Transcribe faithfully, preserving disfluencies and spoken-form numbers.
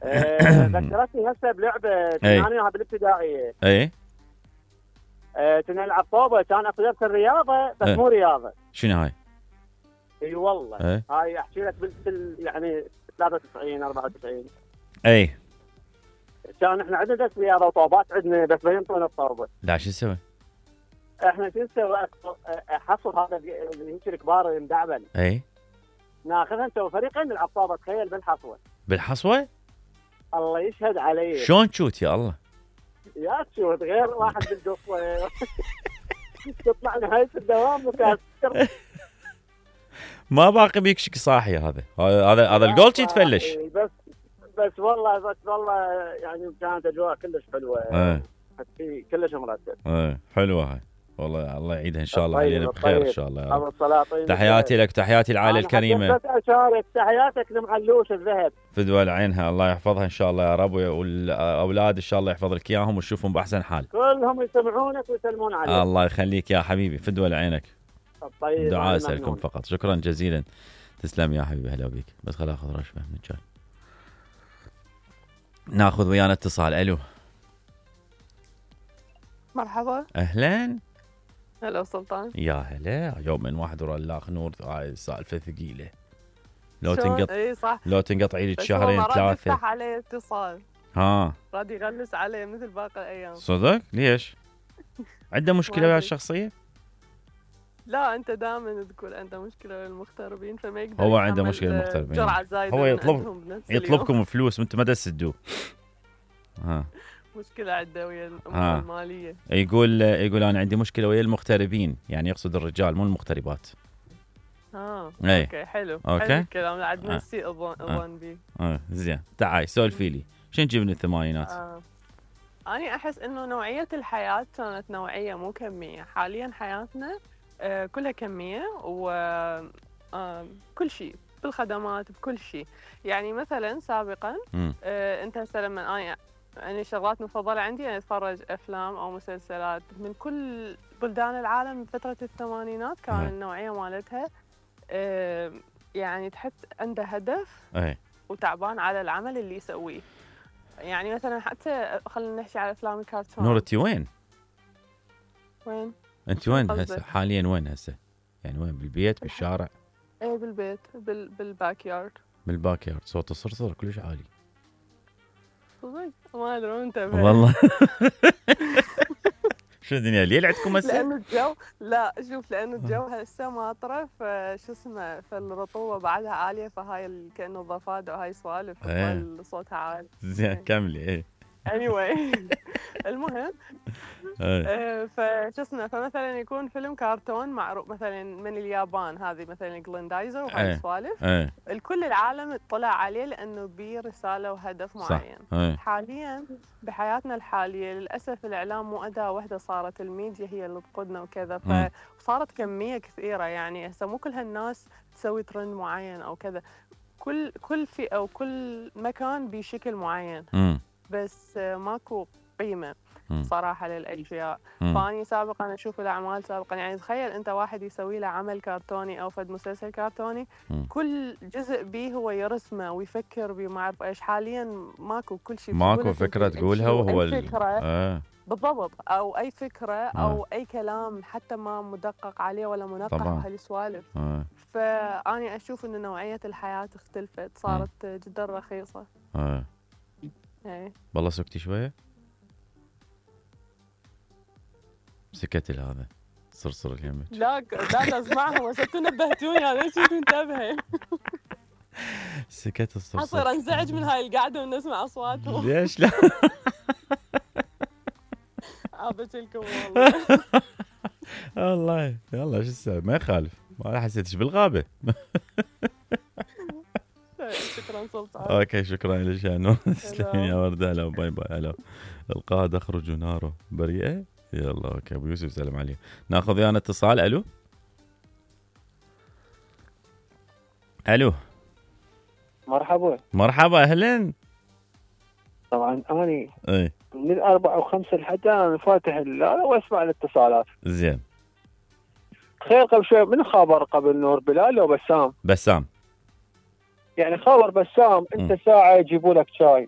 آه، ذكرتني هسه بلعبه كنا اي انا وياها بالابتدائيه. اي آه، كنا نلعب طوبه، كان اكو درس الرياضه بس اي مو رياضه. شنو هاي؟ اي والله اي هاي احكي لك بال يعني ثلاثة وتسعين أربعة وتسعين. اي كان احنا عندنا درس رياضه وطوبات عندنا بس ما ينطونا الطوبه. لا شو نسوي؟ احنا شو نسوي؟ حصل هذا اللي هيك الكبار المدعبل، اي ناخذها نسوي فريقين نلعب طوبه، تخيل بالحصوه. بالحصوه؟ الله يشهد علي. شلون تشوت يا الله؟ يا تشوت غير واحد بالقصه تطلع نهايه الدوام مكسر. ما باقي بيكشك صاحي هذا هذا هذا الجول يتفلش. بس بس والله بس والله يعني كانت اجواء كلش حلوه. ايه في كلش مرتب. ايه حلوه هاي والله، الله يعيدها ان شاء الله علينا بخير ان شاء الله يا رب. تحياتي لك وتحياتي العائله الكريمه. بس اشارك تحياتك لمعلوش الذهب. فدوى لعينها، الله يحفظها ان شاء الله يا رب، والاولاد ان شاء الله يحفظ لك اياهم وتشوفهم باحسن حال. كلهم يسمعونك ويسلمون عليك. الله يخليك يا حبيبي، فدوى لعينك. طيب دعاء اسالكم فقط. شكرا جزيلا، تسلم يا حبيبي، هلا بيك. بس خل اخذ رشفه من جال. ناخذ ويانا اتصال. الو مرحبا. اهلا هلا سلطان. يا هلا. يوم من واحد ورا الاخ نور، هاي سالفه ثقيله. لو شو؟ تنقطع اي صح، لو تنقطعي لك شهرين ثلاثه. ثلاثه. يفتح عليه اتصال، ها راد يغلس عليه مثل باقي الايام. صدق؟ ليش؟ عنده مشكله ويا الشخصيه؟ لا انت دائما تقول عنده مشكله ويا المغتربين، فما يقدر. هو عنده مشكله المغتربين، جرعه زايده. هو يطلب يطلبكم فلوس وانتم ما تسدوه. ها مشكله عنده ويا الامور الماليه. يقول يقول انا عندي مشكله ويا المغتربين، يعني يقصد الرجال مو المغتربات. اه ايه. اوكي حلو. اوكي حلو الكلام، عاد نسي اظن بي. اه زين. تعالي سولفي لي، شنو تجيب من الثمانينات؟ آه. أنا أحس إنه نوعية الحياة كانت نوعية مو كمية. حاليا حياتنا آه كلها كمية، وكل آه شيء بالخدمات بكل شيء. يعني مثلا سابقا آه أنت هسه لما أنا يعني شغلات مفضلة عندي أنا أتفرج أفلام أو مسلسلات من كل بلدان العالم. فترة الثمانينات كان النوعية مالتها آه يعني تحس عنده هدف أي. وتعبان على العمل اللي يسويه. يعني مثلا حتى خلينا نحكي على افلام الكرتون. نور انت وين؟ وين؟ انت وين هسه حاليا؟ وين هسه؟ يعني وين؟ بالبيت بالشارع؟ ايه بالبيت بال بالباك يارد. بالباك يارد. صوت الصرصر كلش عالي. صدق؟ ما ادري وين انتبه والله. شو الدنيا ليل عندكم هسه؟ لأنه الجو لا شوف، لأنه الجو هسه ماطرة، فشو اسمه، فالرطوبة بعدها عالية، فهاي كأنه ضفادع وهاي سوالف صوتها عالي. زين كملي. ايه anyway المهم آه فشو اسمه، فمثلا يكون فيلم كرتون معروف مثلا من اليابان، هذه مثلا جليندايزر وهاي السوالف، الكل العالم اطلع عليه لانه بيه رساله وهدف معين. أي. حاليا بحياتنا الحاليه للاسف الاعلام مو اداه واحده، صارت الميديا هي اللي تقودنا وكذا، فصارت كميه كثيره. يعني هسه مو كل هالناس تسوي ترند معين او كذا، كل كل فئه وكل مكان بشكل معين. م. بس ماكو قيمة صراحة للأشياء. فاني سابقا أشوف الأعمال سابقا، يعني تخيل أنت واحد يسوي له عمل كرتوني أو فد مسلسل كرتوني، م. كل جزء بيه هو يرسمه ويفكر بيه، ما أعرف إيش. حاليا ماكو، كل شيء ماكو فكرة تقولها، وهو أي فكرة آه. بالضبط، أو أي فكرة أو آه. أي كلام حتى ما مدقق عليه ولا منقح وهالسوالف. آه. فأني أشوف إن نوعية الحياة اختلفت، صارت آه. جدا رخيصة. آه. ايه والله سكتي شويه. سكت هذا صرصر اليمك. لا لا اسمعهم بس نبهتوني، انا ليش كنت انتبه. سكت الصرصر. اصير انزعج من هاي القعده ونسمع اصواتهم. ليش لا؟ عابت لكم والله. والله يلا شو اسوي، ما يخالف، ما حسيتش بالغابه. شكرا سلطان. اوكي شكرا لك يا نور. تسلمين يا ورده. هلا باي باي. هلا. القاها تخرج ناره بريئه. يلا اوكي ابو يوسف سلام عليه. ناخذ ويانا اتصال. الو الو مرحبا. مرحبا اهلا. طبعا اني اي من أربعة وخمسة لحتى انا فاتح الليله واسمع الاتصالات. زين. تخيل قبل شوي من خبر قبل نور بلال لو بسام؟ بسام. يعني خبر بسام انت م. ساعه يجيبوا لك شاي،